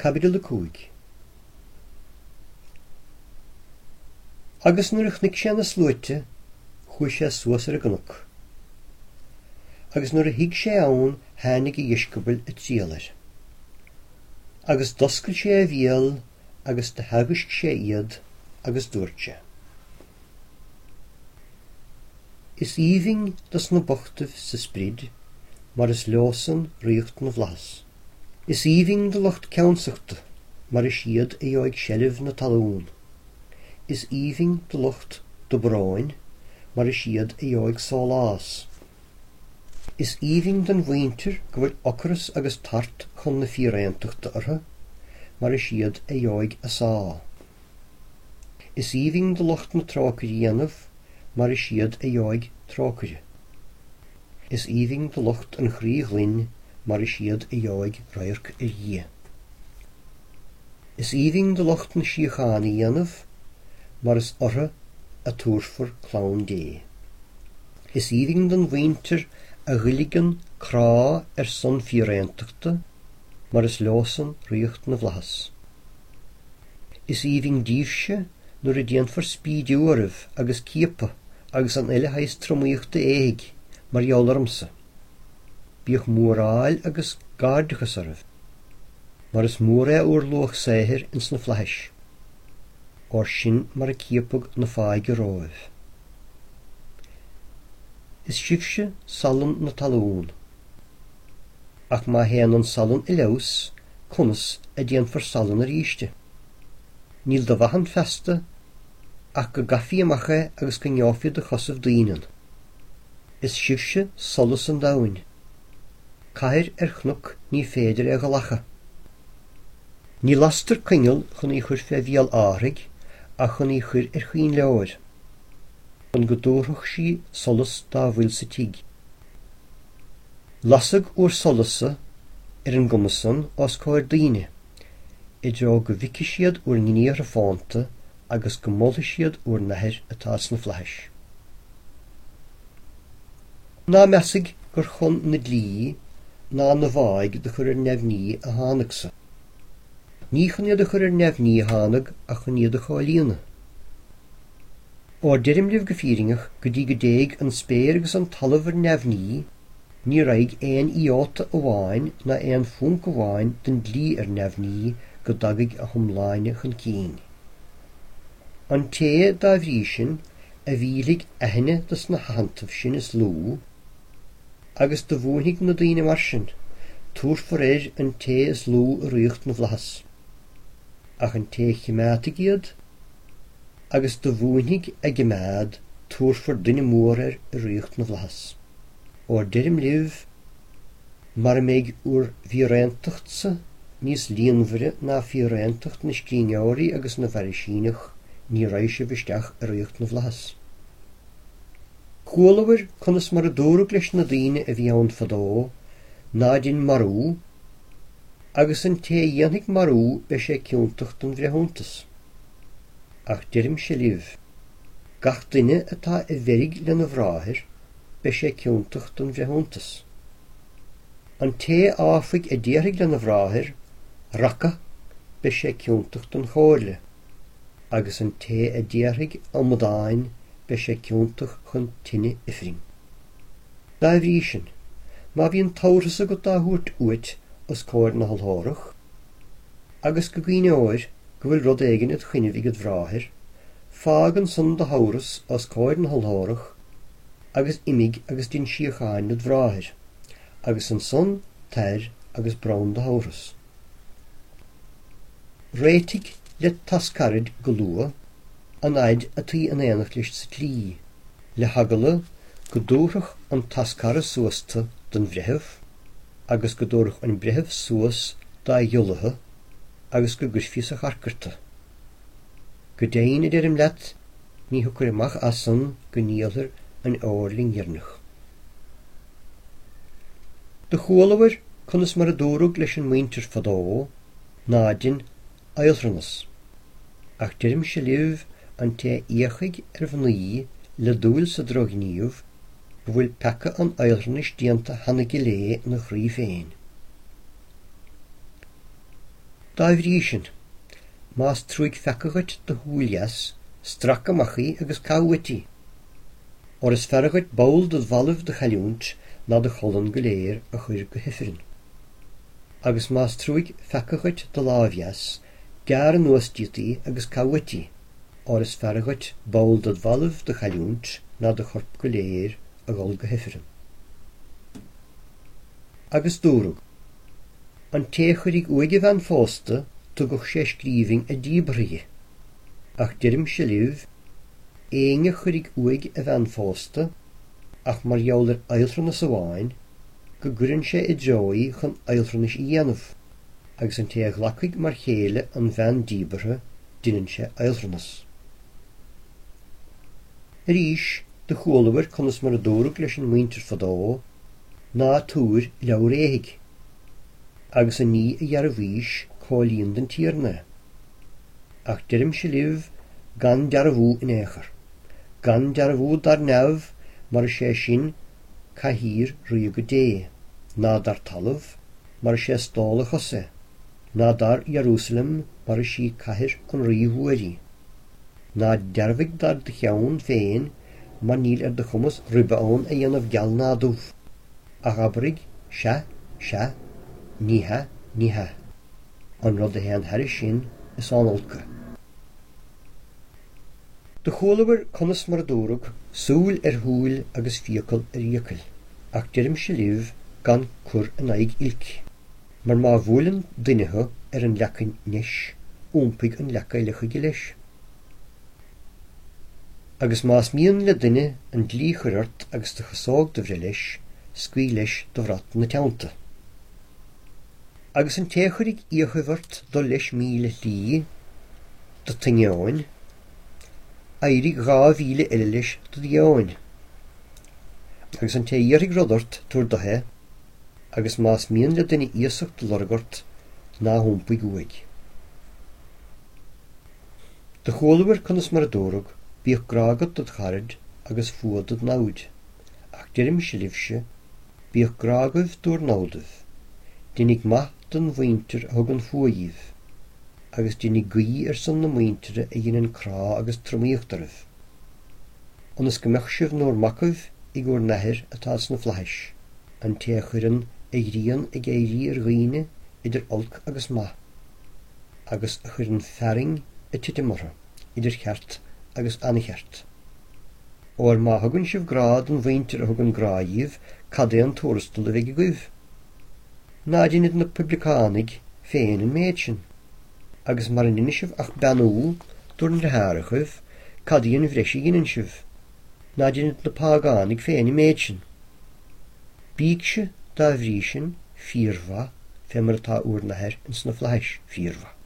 Caibidil 5. Agus nuair a chonaic sé na sluaite, chuaigh sé suas ar an gcnoc. Agus nuair a shuigh sé ann tháinig a dheisceabail ag triall air. Agus d'oscail sé a bhéal agus do theagaisc sé iad agus dúirt sé. Is aoibhinn do sna bochtaibh sa sprid, mar is leosan ríocht na bhflaitheas. Is aoibhinn do lucht ceansachta, mar is iad a gheobhaidh seilbh na talún. Is aoibhinn do lucht dobróin, mar is iad a gheobhaidh sólás. Is aoibhinn don mhuintir go bhfuil ocras agus tart chun na fíréantachta orthu, mar is iad a gheobhaidh a sá. Is aoibhinn do lucht na trócaire dhéanamh, mar is iad a gheobhaidh trócaire. Is aoibhinn do lucht an chroí ghlain, mar is iad a gheobhaidh radharc ar Dhia. Is aoibhinn do lucht na síochána dhéanamh, mar is orthu a tabharfar clann Dé. Is aoibhinn don mhuintir a dh'fhuilgíonn crá ar son fíréantachta, mar is leosan ríocht na bhflaitheas. Is aoibhinn díbhse nuair a déanfar spídiú oraibh agus ciapadh agus an uile shaghas tromaíochta éithigh mar gheall ormsa. Bíodh móráil agus gairdeachas oraibh, mar is mór é úr luach saothair ins na flaithis, óir sin mar a ciapadh na fáidhe romhaibh. Is sibhse salann na talún. Ach má théann an salann i leabhas, conas a déanfar salann arís de? Níl de mhaith ann feasta ach go gcaithfí amach é agus go ngeofaí de chosaibh daoine ann. Is sibhse solas an domhain. Cathair ar chnoc ní féidir é ghlacadh. Ní lastar coinneal chun í chur fé bhéal árthaigh ach chun í chur ar choinnleoir, chun go dtabharfadh sí solas dá bhfuil sa tigh. Lasadh úr solas-sa ar an gcuma san os comhair daoine, i dtreo go bhficfidh siad úr ngníomhartha fónta agus go molfaidh siad úr n-Athair atá sna flaithis. Ná measaidh gur chun na dlí ná na bhfáidh do chur ar neamhní a thánag-sa. Ní chun iad a chur ar neamhní a thánag ach chun iad a chomhlíonadh. Óir deirim libh go fírinneach, go dtí go dtéidh an spéir agus an talamh ar neamhní, ní raghaidh aon ióta amháin ná aon phúnc amháin den dlí ar neamhní go dtagaidh a hiomláine chun cinn. An té, dá bhrí sin, a mhillfidh aithne de sna haitheantaibh sin is lú, agus do mhúinfidh na daoine mar sin, tabharfar air an té is lú i ríocht na bhflaitheas. Ach an té a chimeádfaidh iad, agus do mhúinfidh a gcimeád, tabharfar duine mór air i ríocht na bhflaitheas. Óir deirim libh, mara mbeidh úr bhfíréantacht-sa níos líonmhaire ná fíréantacht na scríbhneoirí agus na bhFairisíneach, ní raghaidh sibh isteach i ríocht na bhflaitheas. Chualabhair conas mar a dúradh leis na daoine a bhí ann fadó, Ná dein marú, agus an té a dhéanfaidh marú beidh sé ciontach don bhreithiúntas. Ach deirimse libh, gach duine atá i bhfeirg lena bhráthair, beidh sé ciontach don bhreithiúntas. An té áfaigh a déarfaidh lena bhráthair, Raca, beidh sé ciontach don chomhairle, agus an té a déarfaidh, Amadáin, beidh sé ciontach chun tine ifrinn. Dá bhrí sin, má bhíonn tabharthas agat á thabhairt uait os comhair na hurlárach, agus go gcuimhneoir go bhfuil rud éigin id choinnibh ag id bhráthair, fág ansan do thabharthas os comhair na hurlárach, agus imigh agus dein síocháin led bhráthair, agus ansan tar agus bronn do thabharthas. Réitigh led thoscaraid go luath, an fhaid ataoi in aonacht leis sa tslí, le heagla go dtabharfadh an toscaire suas tu don bhreitheamh, agus go dtabharfadh an breitheamh suas dá ghiolla thu agus go gcuirfí sa charcair tu. Go deimhin, a deirim leat, ní thiocfair amach as san go ndíolfair an fheoirling dheireanach. Do chualabhair conas mar a dúradh leis an muintir fadó, Ná dein adhaltranas. Ach deirimse libh, an té a fhéachfaidh ar mhnaoi le dúil sa drochghníomh, go bhfuil peaca an adhaltranais déanta cheana aige léi ina chroí féin. Dá bhrí sin, más trúig pheaca dhuit do shúil dheas, strac amach í agus caith uait í. Óir is fearra dhuit ball ded bhallaibh do chailliúint ná do cholainn go léir a chur go hifreann. Agus más trúig pheaca dhuit do láimh dheas, gearr anuas díot í agus caith uait í, óir is fearra dhuit ball ded bhallaibh do chailliúint ná do chorp go léir a dhul go hifreann. Agus dúradh. An té a chuirfidh uaidh a bhean phósta, tugadh sé scríbhinn a díbeartha dhi. Ach deirimse libh, éinne a chuirfidh uaidh a bhean phósta, ach mar gheall ar adhaltranas amháin, go gcuireann sé i dtreo í chun adhaltranais a dhéanamh, agus an té a ghlacfaidh mar chéile an bhean díbeartha, deineann sé adhaltranas. Arís, do chualabhair conas mar a dúradh leis an muintir fadó, Ná tabhair leabhar éithigh. Agus an ní a dhearbhaís comhlíon don Tiarna é. Ach deirimse libh gan dearbhú in aon chor. Gan dearbhú dar neamh, mar is é sin cathaoir ríoga Dé, ná dar talamh, mar is é stól a chos é, ná dar Ierúsalem, mar is í cathair an Rí mhóir í. Ná dearbhaigh dar do cheann féin mar níl ar do chumas ribe ann a dhéanamh geal ná dubh. Ach abraigh, Sea, sea, ní hea, ní hea. An rud a théann thairis sin, is ón olc é. Do chualabhair conas mar a dúradh, súil ar shúil agus fiacail ar fhiacail. Ach deirimse libh gan cur in aghaidh oilc. Mar má bhuaileann duine thu ar an leacain ndeis, iompaigh an leac eile chuige leis. Agus más mian le duine an dlí chur ort agus do chasóg do bhreith leis, scaoil leis do bhrat 'na teannta. Agus an té a chuirfidh fhiachaibh ort dul leis míle shlí do t'inneoin, éirigh 2 mhíle eile leis do dheoin. Agus an té a iarrfaidh rud ort, tabhair do é, agus más mian le duine iasacht do lorg ort, ná hiompaigh uaidh. Do chualabhair conas mar a dúradh, Bíodh grá agat dod charaid agus fuath dod namhaid. Ach deirimse libhse, bíodh grá agaibh dúr namhdaibh. Deinidh maith don mhuintir a thugann fuath dhíbh, agus deinidh guí ar son na muintire a dheineann crá agus tromaíocht oraibh, ionas go mbeadh sibh 'núr macaibh ag úr nAthair atá sna flaithis, an té a chuireann a ghrian ag éirí ar dhaoine idir olc agus maith. agus a chuireann fearthainn ag titim orthu, idir cheart agus aincheart. Óir má thugann sibh grá don mhuintir a thugann grá dhíbh, cad é an tuarastal a bheidh agaibh? Ná deinid na poibliceánaigh féin an méid sin? Agus mara ndeinidh sibh ach beannú dúr ndriothárachaibh, cad í an bhreis a dheineann sibh? Ná deinid na págánaigh féin an méid sin? Bígse, dá bhrí sin, fíormhaith, fé mar atá úr nAthair ins na flaithis fíormhaith.